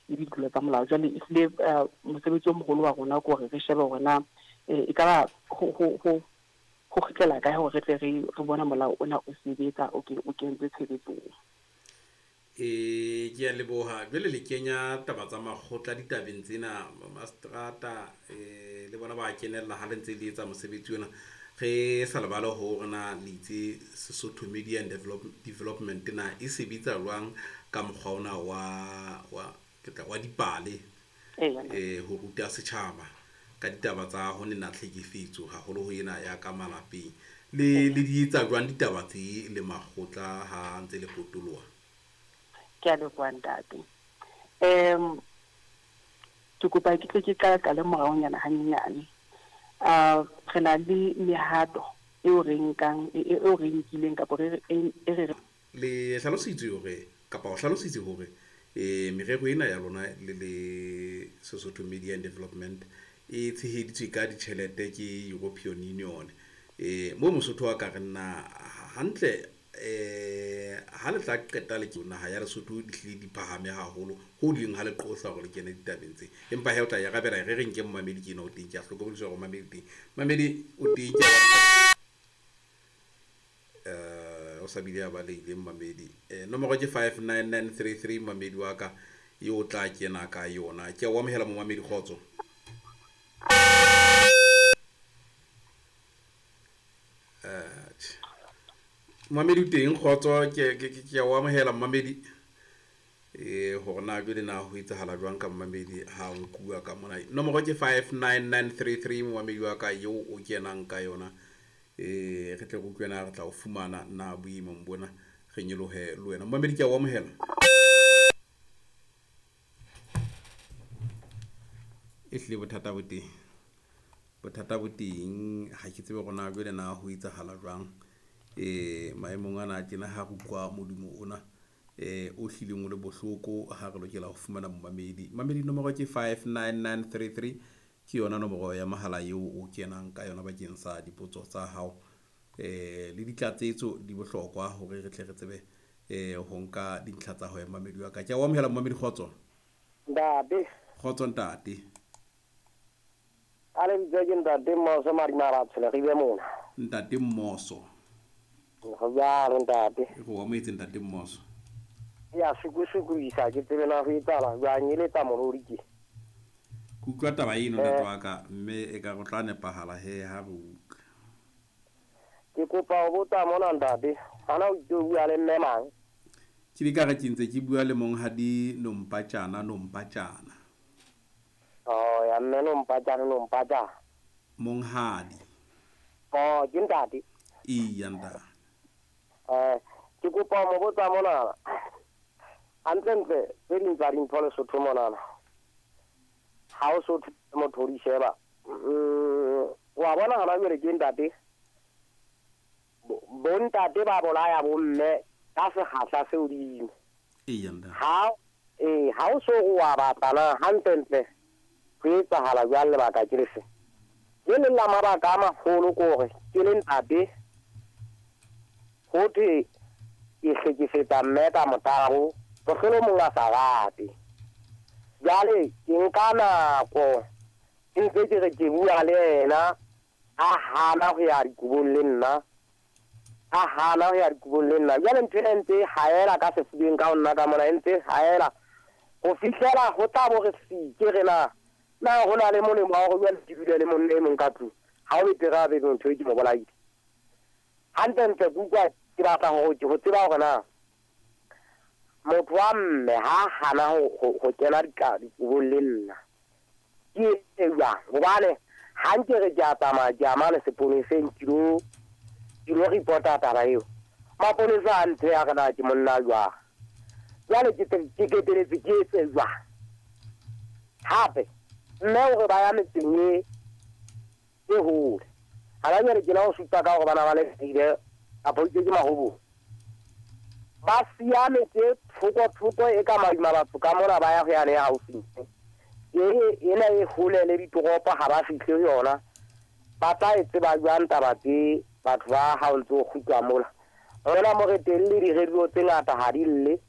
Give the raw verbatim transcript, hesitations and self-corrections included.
le ditlolo tsa molao. Jwale ehlile mosebetsi o moholo wa rona ke hore re shebe hore na e ka ba ho ho ho ho kgutlela kae hore re tle re re bone molao ona o sebetsa, o o kentswe tshebetsong. E ke a leboha. Jwale le kenya taba tsa makgotla ditabeng tsena, mastrata eh le bona ba kenella ha le ntse le etsa mosebetsi ona. Re sa lebale hore na le itse Sesotho Media and Develop, Development na e sebetsa jwang ka mokgwa ona wa wa ke tla wa dipale eh ho ruta setjhaba ka ditaba tsa ho nena tlhekefetso haholo ho ena ya ka malapeng. Le le di etsa jwang ditaba tse le makgotla ha ntse le potoloha? Ke a leboha ntate. Um ke kopa ke tle ke qala qale moraonyana hanyenyane. Uh re na le mehato eo re nkang eo re nkileng kapa re e re Le hlalositse hore kapa o hlalositse hore eh merero ena ya lona le le Sesotho Media and Development e tsheheditswe ka ditjhelete ke European Union. Eh mo Mosotho wa ka re nna hantle eh ha le tla qeta le ke naha ya Lesotho di hlile di phahame haholo ho ding ha le qosa hore le kene ditabeng tse, empa he o tla e arabela. Re re nke momamedi ke ena o teng, ke a hlokomedisa hore momamedi teng, mamedi o teng, ke eh o sa bile a balehile momamedi. Eh nomoro ke five nine nine three three, momamedi wa ka eo o tla kena ka yona. Ke a o amohela momamedi, kgotso. Eh momamedi o teng, kgotso, ke ke ke a o amohela momamedi. Eh hore na jwale na ho etsahala jwang ka momamedi ha o nkuwa ka mona. Nomoro ke five nine nine three three, momamedi wa ka eo o kenang ka yona. Eh re tle re utlwe na re tla o fumana na boemong bona, re nyolohe le wena. Momamedi ke a o amohela. Ehlile bothata bo teng, bothata bo teng, ha ke tsebe hore na jwale na ho etsahala jwang. Eh maemong ana tjena ha re utlwa modumo ona eh o hlileng o le bohloko ha re lokela ho fumana momamedi. Mamedi nomoro ke five nine nine three three, ke yona nomoro ya mahala eo o kenang ka yona bakeng sa dipotso tsa hao. Eh le ditlatsetso di bohlokwa hore re tle re tsebe eh ho nka dintlha tsa hao mamedi wa ka. Ke a o amohela momamedi, kgotso. Ntate. Kgotso ntate. A le bitsa ke ntate Mmoso Madimara Tshole re be mona. Ntate Mmoso. Go jalo ntate. Re o amohetse ntate Mmoso. Ya sukusukuisa ke tsebe na ho etsahala jwang e le tsa morodi ke. Ke utlwa taba eno ntate wa ka, mme e ka go tla nepahala he ha re utlwa. Ke kopa ho botsa mona ntate, hana o itse o bua le mme mang? Ke di ka re ke ntse ke bua le monghadi Nompatjana Nompatjana. Oh ya mme Nompatjana Nompatjana. Monghadi. Oh ke ntate. Iya ntate. Eh ke kopa ho botsa mona. Hantlentle tse ding tsa dintho Lesotho monana. Ha o so motho o di sheba. Wa bona hona jwale ke ntate. Bo ntate ba bolaya bo mme ka sekgahla se hodimo. Eya ntate. Ha eh ha o so wa batla na hantlentle ho etsahala jwang lebaka ke lefe? Le leng la mabaka a maholo ke hore ke le ntate ho thwe ke hlekefetsa mme ka motabo, mohlolomong a sa rate. Jwale ke nka nako ke ntse ke re ke bua le yena, a hana ho ya dikobong le nna, a hana ho ya dikobong le nna. Jwale ntho ena e ntse e haela ka sefubeng ka ho nna ka mona, e ntse e haela ho fihlela ho tla bo re sike re na na ho na le molemo wa hore jwale ke dule le monna e mong ka tlung. Ha o betere a be ntho e ke mo bolaile. Hantlentle ke utlwa ke batla hore ho tseba hore na motho wa mme ha hana ho ho kena dikobong le nna ke e jwang? Hobane ha nke re ke a tsamaya ke a mane seponeseng ke lo ke lo report-a taba eo, maponesa a nthe a re na ke monna jwang? Jwale ke ke keteletse ke etse jwang? Hape mme hore ba ya metseng e e hole ha ba jwale ke la ho supa ka hore bana ba le ile kapa itse ke mahobo ba siya metse thoko thoko e ka madima batho ka mona ba ya ho yane ya haufi e ena e hole le ditoropo ha ba fihle ho yona. Ba tla e tseba jwang taba tse batho ba ha o ntso kgutla mola rona mo re teng le di-radio tse ngata ha di lle.